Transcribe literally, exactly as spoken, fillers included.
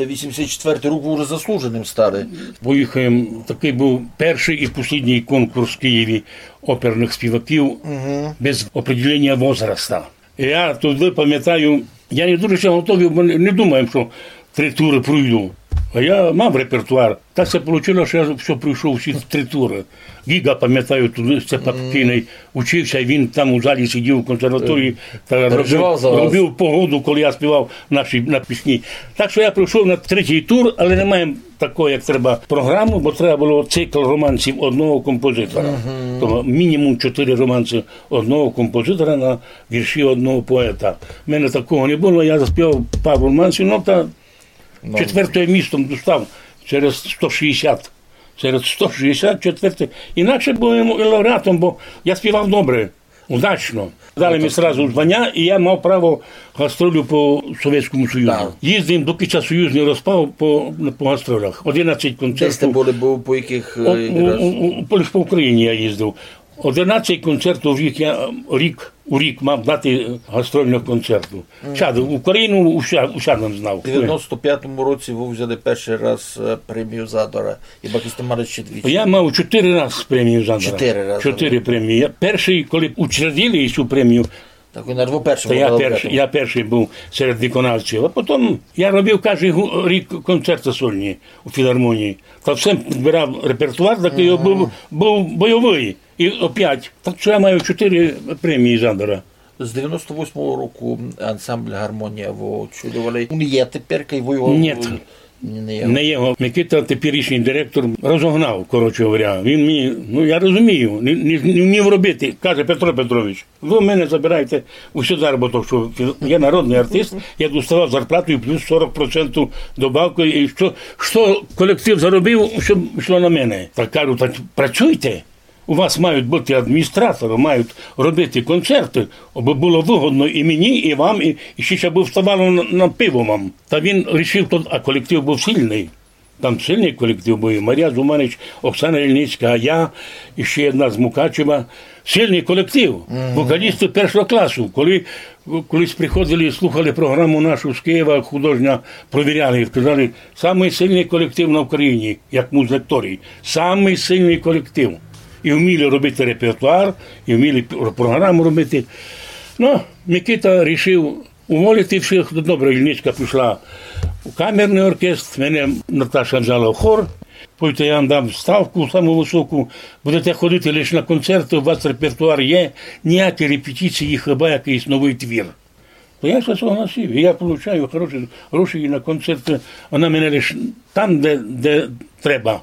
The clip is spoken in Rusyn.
Вісімдесят четвертый рік вы вже заслуженим стали. Поїхав, такый быв першый і послідній конкурс в Києві оперных співаків без определення возраста. Я туды памятаю, я не дуже ся готовив, бо не, не думав, што три туры пройду. А я мав репертуар. Так ся получило, што я всьо пройшов, всі три туры. Гіґа, памятаю, туды, се покійный, учив ся, і він там у залі сидів у консерваторії та робив, робив погоду, коли я співав наші, на пісні. Так што я пройшов на третій тур, але не маєм такої, як треба, програму, бо треба было цикл романсів одного композитора. Того мінімум чотири романсы одного композитора на вірші одного поета. У мене такого не было, я заспівав пару романсів, ну, та четвертоє місто достав через сто шістдесят. Через сто шістдесят четвертоє. Інакше быв і лауреатом, бо я співав добре, удачно. Дали ми сразу званя, і я мав право гастролю по Совєтському Союзу. Так. Їздив, доки ся Союз не розпав, по, по гастролях. Одинадцять концертів. Де сте были, быв по якых, е, у, у, у, по, лиш по Україні я їздив. Одинадцять концертів в рік я, рік, у рік мав дати гастрольных концертів. Чад, Україну уся-, усядом знав. У девяносто пятому році вы взяли першый раз, е, премію Задора. Хіба сте мали ще двічі? Я мав чотири раз премію Задора. Чотири рази. Чотири премії. Я першый, коли учредили цю премію, так вы на першому, та я першый, я першый быв серед виконавців. А потім я робив каждый гу-, рік концерты сольні у філармонії. Та всім підбирав репертуар, такый быв, быв бойовый. І опять, так што я маю чотири премії Задора. З девяносто восьмого року ансамбль «Гармонія» вы очолювали. Він є тепер, і вы його... Ні. Не є. Не є. Микита, теперішній директор, розогнав, коротше говоря. Він мені, ну, я розумію, не, не, не вмів робити. Каже: «Петро Петрович, вы в мене забираєте усю заробіток, што я народный артист, я доставав зарплату і плюс сорок процентів добавку, і што, што колектив заробив, што йшло на мене». Так кажу: «Так працюйте». У вас мають быти адміністраторы, мають робити концерты, абы было выгодно і мені, і вам, і, і ще, ще бы вставало на, на пиво вам. Та він рішив то, а колектив быв сильный. Там сильный колектив быв, і Марія Зуманич, Оксана Ільницька, я, і ще одна з Мукачева. Сильный колектив, вокалісты першого класу. Коли колись приходили і слухали програму нашу з Києва, художня, провіряли, і сказали: «Самый сильный колектив на Україні, як музлекторій. Самый сильный колектив». І вміли робити репертуар, і вміли п-, програму робити. Ну, Микита рішив уволити всіх. Добре, Ільничка пішла у камерный оркестр, мене Наташа взяла в хор. Пойте, я вам дам ставку саму высоку, будете ходити лиш на концерты, у вас репертуар є, ніякі репетиції, хіба якыйсь новый твір. То я ся согласив, і я получаю хороші гроші і на концерты, вона мене лиш там, де, де треба.